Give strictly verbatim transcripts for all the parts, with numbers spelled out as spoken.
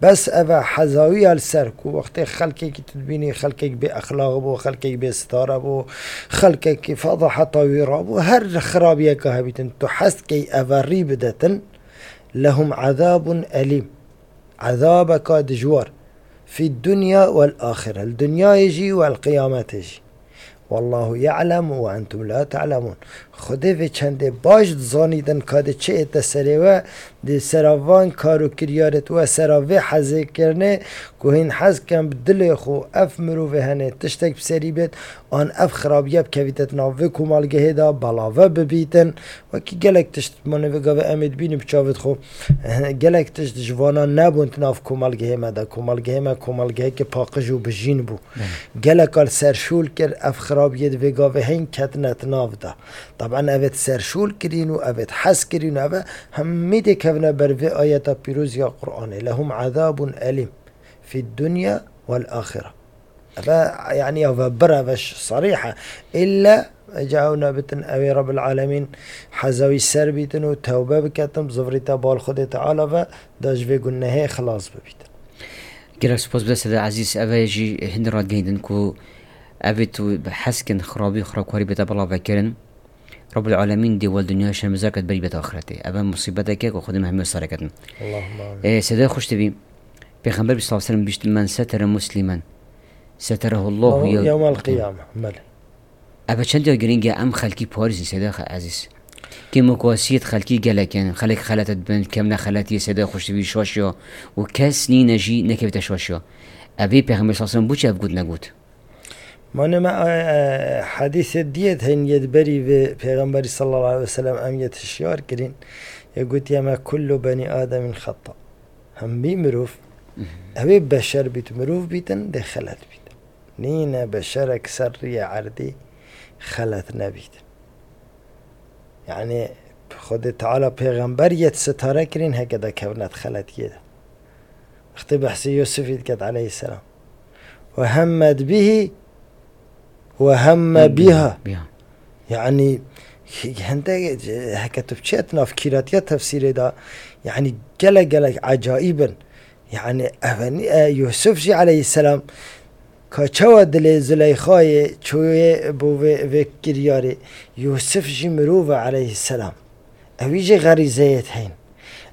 Bes ev e hezawiya li ser ku wextê xelkekî tu dibînî, xelkek bê exlaq bû, xelkek bê sitare bû, xelkekî fedaheta wî rabû, her xirabiyeke hebîtin, tu hez dikey eve rî bidetin, lehum ezabun elîm. Ezabeka dijwar. Fî dunya wel axire. Li dinyayê jî wel qiyametê jî. Wallahu ya'lem ve entum la ta'lemun. Xwedê vê çendê baş dizanîtin ka dê çi ête serê we, dê sera van kar û kiryarê we, sera vê hezêkirinê ku hîn hez ken bi dilê xwe ev mirovê henê tiştek bi serî bêt, an ev xirabiye bikevîte di nav vê komelgehê de, belave bibîtin. Wekî gelek tişt mane vê gavê em ê dibînin bi çavê xwe. Gelek tişt ji vana nebûn di nav komelgehê me de. Komelgehê me komelgeheke paqij û bijîn bû. Belê. Geleka li ser şûl kir, ev xirabiyê di vê gavê hên ketine di nav de. Taban ev ê di ser şûl kirîn û ev ê di hez kirîn û ev ê hemî dê kevine ber vê ayeta pîroz ya Qur'anê. Lehum azabun elîm fî dunya wel axire. Eve, yani, eve bir, eve ş-, sarîh e. Îlle ca ew nebitin, ew ê Rabbil Alemîn heza wî ser bîtin û tewbe biketin, bi zivrî te bal Xwedê Teala ve, da ji vê gunehê xilas bibîtin. Gelek spas bi destê de Ezîz, eve jî hindî ragihîndin ku evê tu bi heskin xirabî, xirabkarî bête belavekirin. Rabbul Alemîn dê wel dinya şermezar ket berî bête axretê. Eve musîbetek e ku Xwedê me hemî sare ketin. Allahümme amin. Ê, Sedayê xweş dibî, Pêxember sallallahu aleyhi ve sellem bîşt, "Men setere muslimen, seterehullahu Allahu yew-" yevmel qiyame. Belê. Eve çend ya girîng e em xelkî parîzin, Seyda Xe-, Ezîz. Kêmokasiyet xelkî gelek in, xelek xelet dibin, kevne xeletiyê Seyda xweş dibî şaş ya û kes nîne jî nekevite şaş ya. Evê Pêxember sallallahu aleyhi ve sellem bû çi ev got negot? Mane me, e, e, hadîsê diyê hên yê di berî vê Pêxemberî sallallahu aleyhi ve sellem em yê hişyar kirîn. Yê gotiye me, "Kullu beni Ademîn xeta." Hemî mirov, Mhm. ew ê beşer bît, mirov bîtin, dê xelet bît. Nîne beşerek ser riyê erdî xelet nebît. Yani, Xwedê Teala Pêxember yê sitare kirîn heke de kevne di xeletiyê de. Wextê behsê Yusufî diket aleyhisselam. Ve hemmet bihi ve hemme biha. Biha. Yani, hende, heke tu biçê nav kîratiya tefsîrê de, yani, gelek gelek ecayîb in. Yani, ev, e, Yusuf jî aleyhisselam, ka çawa dilê Zuleyxayê çoyê bo vê, vê kiryarê. Yusuf jî mirov e aleyhisselam. Ew jî xerîzeyê heyîn.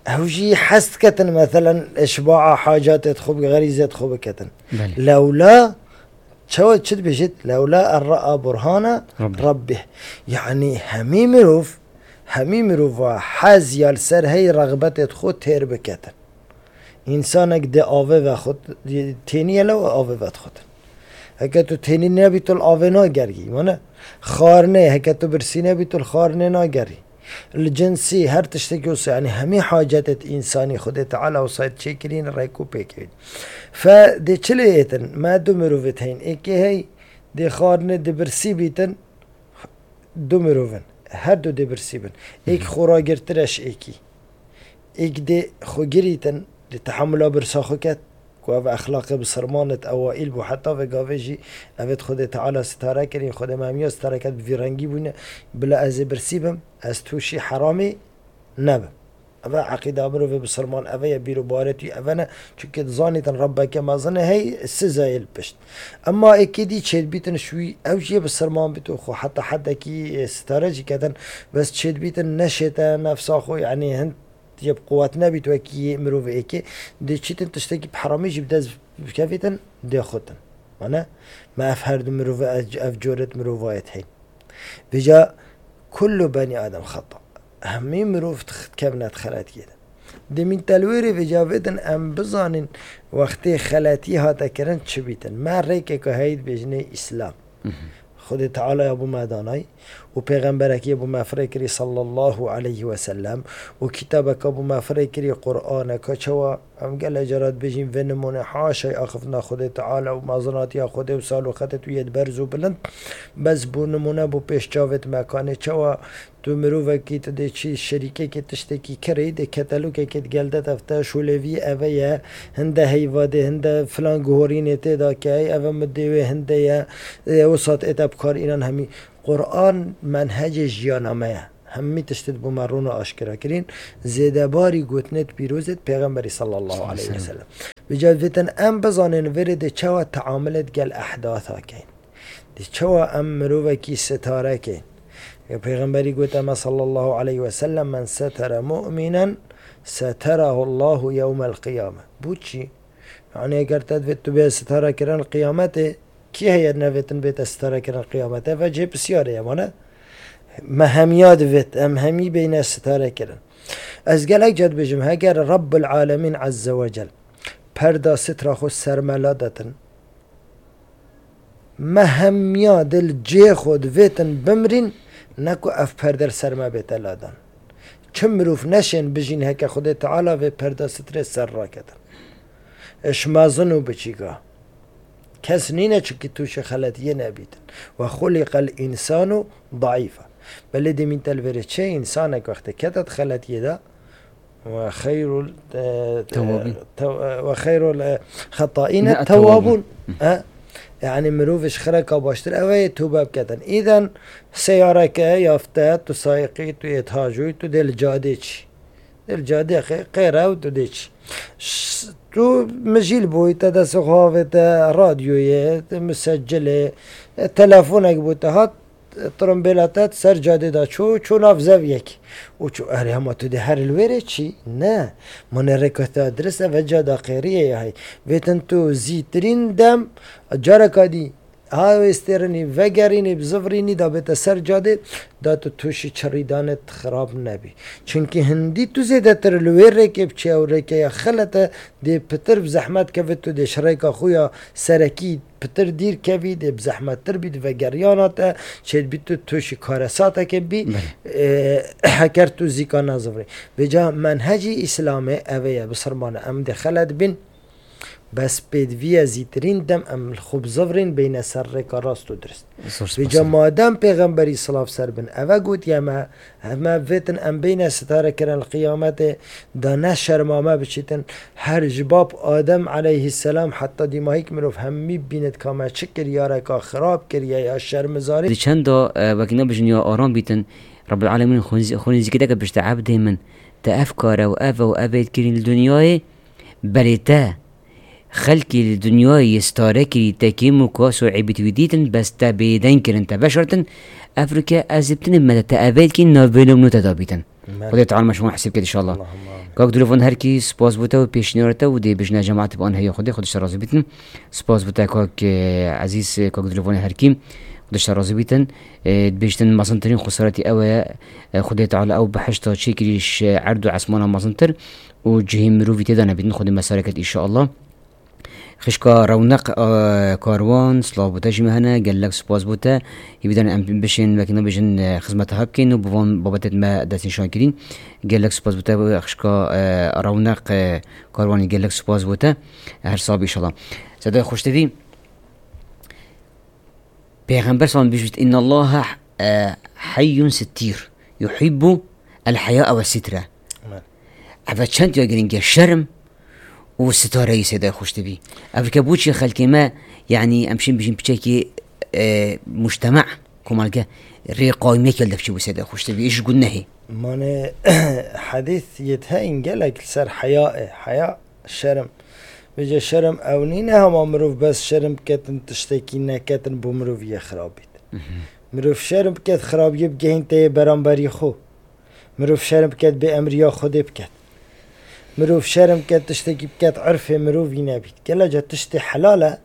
Ew jî hez diketin, meselen, işbaa hacatê xwe bi xerîzê xwe biketin. Belê. Lewla, çawa çi dibêjit? Lewla en ra'a burhana Rabbi. Rabbih. Yani hemî mirov, hemî mirova hez ya li ser hey rexbetê xwe têr biketin. Însanek dê avê vexwit, tênî ye lew avê vedixwitin. Heke tu tênî nebî, tu li avê nagerî, wane? Xwarinê, heke tu birsî nebî, tu li xwarinê nagerî. Li cinsî, her tiştekî wisa, yani hemî hacetê însanî Xwedê Teala wisa çêkirîn, rêk û pêkirîn. Fe dê çi lê êtin? Me du mirovê heyîn. Êkê hey dê xwarinê, dê birsî bîtin, du mirov in. Her du dê birsî bin. Êk Hı hı. xwe ragirtir e ji êkî. Êk dê xwe girîtin, dê tehemula birsa xwe ket. Ku ev exlaqê bisilmanê ewaîl bû. Heta vê gavê jî ev ê Xwedê Teala sitare kirîn, Xwedê me hemiya sitare ket, bi vî rengî bûne. Bila ez ê birsî bim, ez tûşî heramî nebim. Eve eqîda mirovê bisilman, eve ye bîr û barê tu eve ne. Çunke dizanîtin Rebbeke mezin e, hey sizayê li pişt. Emma êkê dî çêdibîtin ji wî, ew jî yê bisilman bît û xwe heta hedekî, e, sitare jî ketin, bes çêdibîtin neşête nefsa xwe, yanî hin yê bi quwet nebît wekî yê mirovê êkê. Dê çîtin tiştekî bi heramî jî bi dest bikevîtin, dê xutin. Mane, me ev her du mirove, ev, ev coret mirovayet heyîn. Vêca kullu beni Adem xeta. Hemî mirov dix-, dikevine di xeletiyê de. Demîn telwêrê vêca vêdin em bizanin wextê xeletî hate kirin çi bîtin. Me rêkeke heyî dibêjinê Îslam. Mhm. Xwedê Teala ya bo me danay û pêxemberekî ya bo me firê kirî sallallahu aleyhi ve sellem û kitabeka bo me firê kirî Qur'aneka çawa Em gelek cara dibêjin vê nimûne haşay axiftina Xwedê Teala û mezinatiya Xwedê û sal û xetê tu yê di berz û bilind. Bes bo nimûne bo pêş çavêt me kanê çawa tu mirovekî tu dê çî şerîkekê tiştekî kirê dê ketelûkekê di gel de tefte şûlêvî eve ye, hinde heyva dê, hinde filan guhorînê tê de ke ey eve mi dê wê hinde ye, ê, wisa ête bi kar înan hemî. Qur'an menhecê jiyana me ye. Hemî tiştê di bo me rûn û aşkera kirîn. Zêdebarî gotinê di pîrozê di Pêxemberî sallallahu aleyhi ve sellem. Vêca vêtin em bizanên vêrê dê çawa teamilê digel ehdasa keyn. Dê çawa em mirovekî sitare keyn. Ya Pêxemberî gote me sallallahu aleyhi ve sellem, "Men setere mu'minen seterahu Allahu yewmel qiyame." Bu çi? Yani eger te divêt tu bê sitare kirin qiyametê, kî heye nevêtin bête sitare kirin qiyametê? Ve cê pisyarê ye, mane? Me hemiya divêt, em hemî beyne sitare kirin. Ez gelek ca dibêjim, heger Rabbul Alemin Azze ve Cel perda sitra xwe ser me la detin, me hemiya dil cê xwe divêtin bimrîn, ne ku ev perde li ser me bête ladan. Çi mirov neşên bijîn heke Xwedê Teala vê perda sitrê ser raketin. Ji mezin û biçîka. Kes nîne çikî tûşî xeletiyê nebîtin. Ve xuliqel însanu daîfa. Belê demîn te li vêrê çi? Însanek wextê kete di xeletiyê de, ve xeyrul, e, Tewwabîn. tew-, e, ve xeyrul, e, xetaîne Ne, tewwabûn. tewwabûn. E? Yani mirov ji xireka baştir ew ê tûbe biketin. Îden seyareke yafte, tu sayiqî, tu yê tacûyî, tu dê li cadê çî. Dê li cadê qê-, qêre û tu dê çî. Ş-, tu mijîl bûyî, te destê xwe avête radyoyê, te misecilê, e, telefonek bû te hat, e, tirimbêla te ser cadê de çû, çû nav zeviyekî. Û çû, erê, hema tu dê her li wêrê çî? Ne. Ma ne rêka te dirist e, ve cada qêriyê ya heyî. Vêtin tu zîtirîn dem, careka dî, ha wê stêrinî, vegerînî, bizivirînî, da bête ser cadê, da tu tûşî çirîdanê xirab nebî. Çimkî hindî tu zêdetir li wê rêkê biçî, ew rêke ya xelet e, dê pitir bi zehmet kevî, tu dê ji rêka xwe ya serekî pitir dîr kevî, dê bi zehmettir bî, di vegeriyana te çêdibî, tu tûşî karesatekê bî, Belê. e, heker tu zîka nazivirî. Vêca menhecî Îslamê ev ê ye, bisirmane, em dê xelet bin, bes pêdivî ye zîtirîn dem em li xwe bizivirîn beyne ser rêka rast û dirist. Zor Vêca spas. madem Pêxemberî silav ser bin, eve gotiye me, Hema vêtin em beyne sitare kirin li qiyametê, da ne şerma me biçîtin. Her ji bab Adem aleyhisselam heta dîmahîk mirov hemî bînit ka me çi kir, ya reka xirab kiriye, ya şermizarî. Di çenda, e, wekî nebijin ya aram bîtin, Rabbil Alemîn xwe nîz-, xwe nîzîkî deke bişte ebdê min, te ev kare û ev û ev ê kirîn li dinyayê, belê te Xelkî li dinyayê yê stare kirî, te kêm û kas û eybît wî dîtin, bes te bêdeng kirin, te veşartin. Ev rike ez ê bitinê me de te evêtkî navbêno nû te dabîtin. Merhaba. Xwedê Teala me şima hesîb ket inşallah. Allahumma amin. Kak Dilovanê Herkî, spas bo te û pêşniyara te û dê bijne cemaetê bi an heya Xwedê, Xwedê ji te razî bîtin. Spas bo te kak, e, ezîz, e, kak Dilovanê Herkî, Xwedê ji te razî bîtin. E, dibêjtin mezintirîn xwesaretî ew e, e, Xwedê Teala ew behişta çêkirî ji erd û esmana mezintir û cihê mirovî tê de nebîtin. Xwedê me sare ket inşallah. Xişka Rewneq, e, Karwan, silav bo te jî me hene, gelek spas bo te. Hîvî dane em bişên wekî nebêjin, e, xizmeta hev bikên û bi van babetê me destnîşan kirîn. Gelek spas bo te, xişka, e, Rewneq, e, Karwanî gelek spas bo te. Her sax bî inşallah. Sedayê Xweştevî, Pêxember sallam bîjît, "Innallaha, e, heyyun sittîr, yuhibbu el heya ve sitre." Amen. Eve çend ya girîng e, şerm û sitareyî Seydayê Xweştevî. Ev ke bo çi xelkê me, yanî em şin bijîn piçekî, e, mujtema, komelge, rê qawimiyek el devçî bû Seydayê Xweştevî, iş gunehê. Mane, hedîs yê te in gelek li ser heya e, heya şerm. Vêce şerm ew nîne hema mirov bes şerm biketin, tiştekî neketin bo mirov yê xirabît. Mhm. Mirov şerm biket, xirabiyê bigehîn teyê beramberî xwe. Mirov şerm biket, bê emriya Xwedê biket. Mirov şerm biket, tiştekî biket, irfê mirovî nebît. Gelek ca tiştê helal e,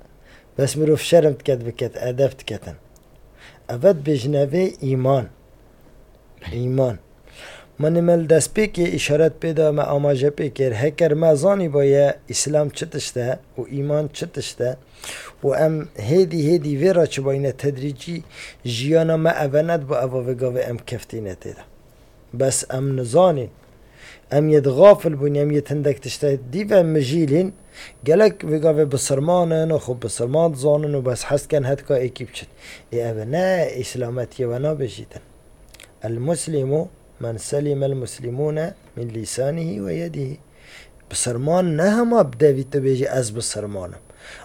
bes mirov şerm diket, biket, edeb diketin. Eve dibêjine vê îman. Îman. Mane me li destpêkê îşaret pê da, me amaje pê kir. Heker me zanîbaye Îslam çi tişt e û îman çi tişt e û em hêdî hêdî vê re çibayîne tedrîcî jiyana me eve nedibo, eva vê gavê em keftîne tê de. Bes em nizanîn. Em yê di xafil bûn, em yê hindek tişte dî ve mijîlîn. Gelek vê gavê bisilman in û xwe bisilman dizanin û bes hez dikin hetka êkî biçin. Ê ev ne îslametiyê we nabêjîtin. El muslimu men selimel muslimûne min lîsanihî ve yedihî. Bisilman ne hema bi devî tu bêjî, "Ez bisilman im."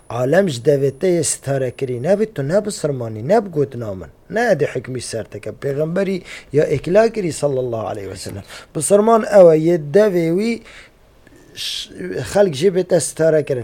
Alem ji devê te yê sitare kirî nebî, tu ne bisilman î, ne bi gotina min. Ne edê hikmî ser te ke. Pêxemberî ya îkla kirî sallallahu aleyhi ve sellem. Bisilman ew e, yê devê wî ş-, xelk jê bête sitare kirin.